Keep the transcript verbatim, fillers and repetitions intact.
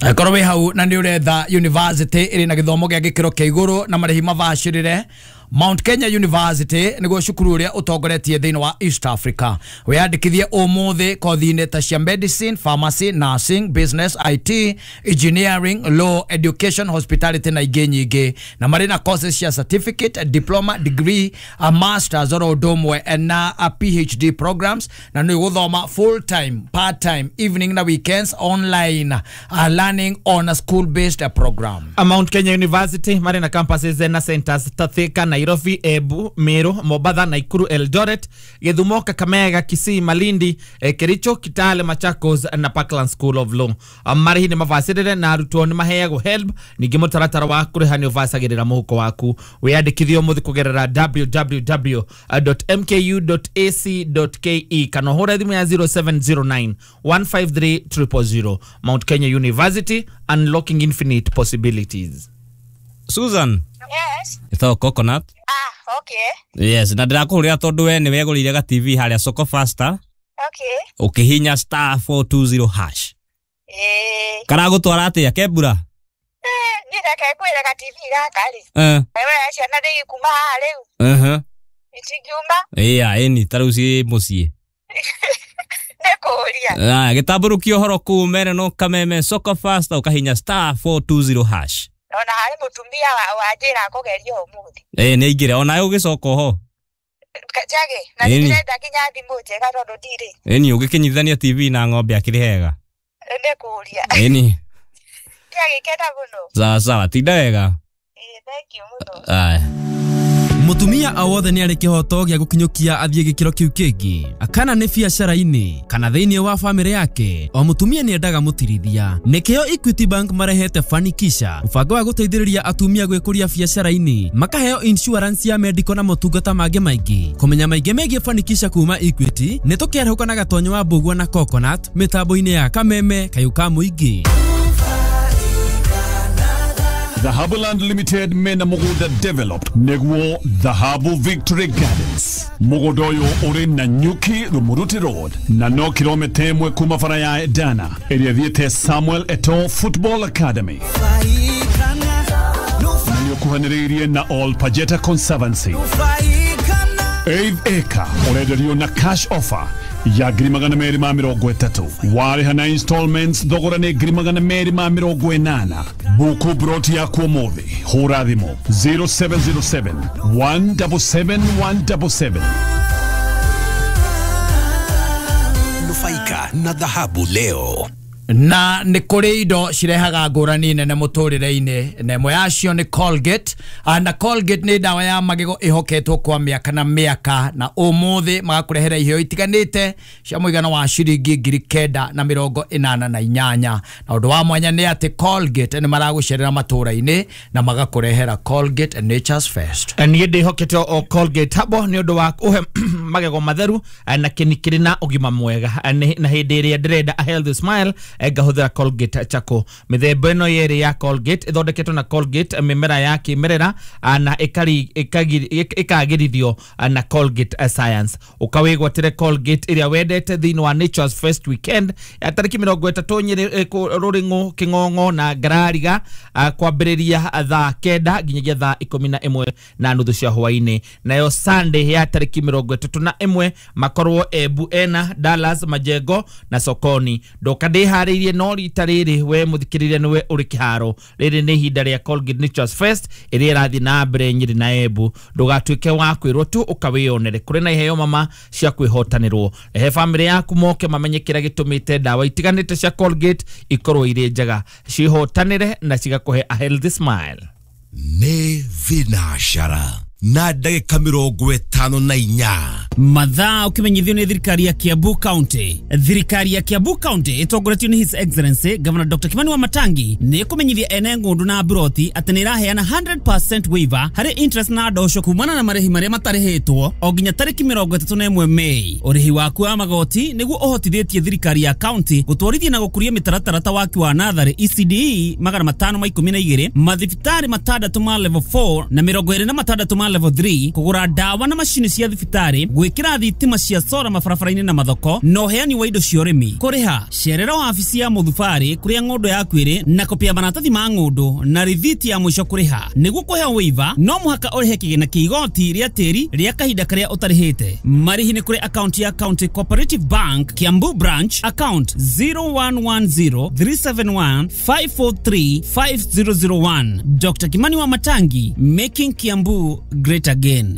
Korwo wĩ hau na nĩ ũretha university ĩrĩ na gĩthomo gĩa gĩkĩro kĩa igũrũ na marĩhi mabacĩrĩre, Mount Kenya University nĩguo cukuru ũrĩa ũtongoretie thĩinĩ wa East Africa. Wĩyandĩkithie ũmũthĩ kothi-inĩ ta cia medicine, pharmacy, nursing, business, I T, engineering, law, education, hospitality na ingĩ nyingĩ, na marĩ na courses cia certificate, diploma, degree, a masters, oro ũndũ ũmwe na a P H D programs, na nĩ gũthoma full time, part time, evening na weekends, online uh, learning on a school based program. A Mount Kenya University marĩ na campuses na centers ta Thika, Nairobi, Embu, Meru, Mombatha, Nakuru, Eldoret, Githumo, Kakamega, Kisii, Malindi, eh, Kericho, Kitale, Machakos na Parkland School of Law. Marĩhi nĩ mabacĩrĩre na arutwo nĩ maheagwo HELB. Ningĩ mũtaratara wa kũrĩha nĩ ũbacagĩrĩra mũhuko waku. Wĩyandĩkithie ũmũthĩ kũgerera w w w dot m k u dot a c dot k e kana ũhũre thimũ ya zero seven zero nine one five three zero zero zero. Mount Kenya University, unlocking infinite possibilities. Susan. Yes. Ĩtagwo Coconut. Ah, okay. Yes, na ndĩrakũhũrĩra tondũ we nĩ wegũrĩire ga T V harĩa Soko Faster Okay. ũkĩhinya star four two zero hash. Eh, Karagũtwara atĩa kembura? Eh, niĩ reke ngwĩre, ga T V gaka rĩ. Eh. Wewe, ciana ndĩgĩkuma haha rĩu. Uh-huh. Itingiuma. Ĩya, ĩni ta rĩu ciĩ mũciĩ. Nĩ kũũria. Aya, gĩtambũrũkia ũhoro kũu mere no kameme Soko Faster ũkahinya star four two zero hash. Ona harĩ mũtumia wa wanjĩra kũgeria ũmũthĩ. Ĩ nĩ aingĩre onawe ũgĩcoka oho. Njage, na Ĩni. ndĩrenda nginya thimũ njega tondũ ndirĩ. Ĩni ũgĩkĩnyitithania T V na ng'ombe akĩrĩ hega. Nĩ kũũria. Ĩni. Ndiagĩkena mũno. Sawa sawa, tinda wega. Ĩ, thank you mũno. Aya. Mutumia o wothe nĩ arĩ kĩhoto gĩa gũkinyũkia athiĩ gĩkĩro kĩu kĩngĩ, kana nĩ biacara-inĩ kana thĩinĩ wa bamĩrĩ yake. O mũtumia nĩ endaga mũtirithia. Nĩkĩo Equity Bank marehete Fanikisha, mũbango wa gũteithĩrĩria atumia gwĩkũria biacara-inĩ, makaheo insurance ya medical na motungata mangĩ maingĩ. Kũmenya maingĩ megiĩ Fanikisha kuma Equity, nĩ tũkĩarahũka na Gatonyo wa Mbũgua na Coconut mĩtambo-inĩ ya Kameme kayũ ka mũingĩ. Dhahabu Land Limited mena mũgũnda developed nĩguo Dhahabu Victory Gardens. Mũgũnda ũyũ ũrĩ Nanyuki Rumuruti Road na no kilomita ĩmwe kuma bara ya Edana ĩrĩa ĩthiĩte Samuel Eto'o Football Academy, na nĩ ũkuhanĩrĩirie na Ol Pajeta Conservancy. Eighth acre ũrenderio na cash offer ya ngiri magana merĩ ma mĩrongo ĩtatũ. Warĩha na installments, thogora nĩ ngiri magana merĩ ma mĩrongo ĩnana. Buku broti yaku ũmũthĩ, hũra thimũ zero seven zero seven one seven seven one seven seven. Nufaika na dhahabu leo. Na nĩ kũrĩ indo cirehaga ngũrani nene mũtũrĩre-inĩ, na ĩmwe yacio nĩ Colgate. Ah, na Colgate nĩ ndawa ya magego ĩhoketwo kwa mĩaka na mĩaka, na ũmũthĩ magakũrehera iheo itiganĩte cia mũigana wa ciringi ngiri kenda na mĩrongo ĩnana na inyanya. Na ũndũ wa mwanya nĩ atĩ Colgate nĩ maragũcerera matũũra-inĩ na magakũrehera Colgate Nature's Fest. Niĩ ndĩhokete o Colgate habo nĩ ũndũ wa kũhe magego matheru eh, na kĩni kĩrĩ na ũgima mwega. Eh, nĩ- na hĩndĩ ĩrĩa ndĩrenda a healthy smile, eh, ngahũthĩra Colgate Charcoal. Mĩthemba ĩno yerĩ ya Colgate ĩthondeketwo na Colgate eh, mĩmera ya kĩmerera, ah, na ĩkari- ĩkagiri- ĩk- ĩkagĩrithio ah, na Colgate eh, Science. Ũkawĩgwatĩre Colgate ĩrĩa wendete thĩinĩ wa Nature's First Weekend ya tarĩki mĩrongo ĩtatũ Nyĩrĩ, eh, kũ- Rũrĩng'ũ, Kĩng'ong'o na Ngarariga, ah, kwambĩrĩria thaa kenda nginyagia thaa ikũmi na ĩmwe na nuthu cia hwainĩ. Nayo Sunday ya tarĩki mĩrongo ĩtatũ na ĩmwe makorwo Embu ena Dallas, Majengo na Sokoni. Ndoka ndĩharĩirie, no rita rĩrĩ we mũthikĩrĩria nĩwe ũrĩ kĩharo. Rĩrĩ nĩ ihinda rĩa Colgate Nature's Fest ĩrĩa ĩrathiĩ na mbere Nyĩrĩ na Embu. Ndũgatuĩke wa kwĩrwo tu, ũkawĩyonere. Kũrĩ na iheo mama cia kwĩhotanĩrwo. Rehe bamĩrĩ yaku moke mamenye kĩrĩa gĩtũmĩte ndawa itiganĩte cia Colgate ikorwo irĩ njega, cihotanĩre na cigakũhe a healthy smile. Nĩ thinacara na ndagĩka mĩrongo ĩtano na inya. Mathaa ũkĩmenyithio nĩ thirikari ya Kiambu County. Thirikari ya Kiambu County ĩtongoretio nĩ His Excellency Governor Doctor Kimani Wamatangi nĩ ĩkũmenyithia ene ng'ũndũ na mburoti atĩ nĩ ĩraheana one hundred percent waiver harĩ interest na ndosho kumana na marĩhi marĩa matarĩhĩtwo o nginya tarĩki mĩrongo ĩtatũ na ĩmwe Mei. Ũrĩhi waku wa magoti nĩguo ũhotithĩtie thirikari ya county gũtwarithia na gũkũria mĩtaratara ta waki wa natharĩ E C D E magana matano ma ikũmi na igĩrĩ, mathibitarĩ matandatũ ma level four na mĩrongo ĩrĩ na matandatũ ma level three, kũgũra ndawa na macini cia thibitarĩ, gwĩkĩra thitima cia sora mabarabara-inĩ na mathoko, na ũheani wa indo cia ũrĩmi. Kũrĩha, cerera wabici ya mũthubarĩ kũrĩa ng'ũndũ yaku ĩrĩ na kopi ya maratathi ma ng'ũndũ na rithiti ya mũico kũrĩha. Nĩguo kũheo waiver, no mũhaka ũrĩhe kĩgĩna kĩa igoti rĩa tĩri rĩa kahinda karĩa ũtarĩhĩte. Marĩhi nĩ kũrĩ akaunti ya County Cooperative Bank Kiambu Branch, account zero one one zero three seven one five four three five zero zero one. Doctor Kimani Wamatangi, making Kiambu great again.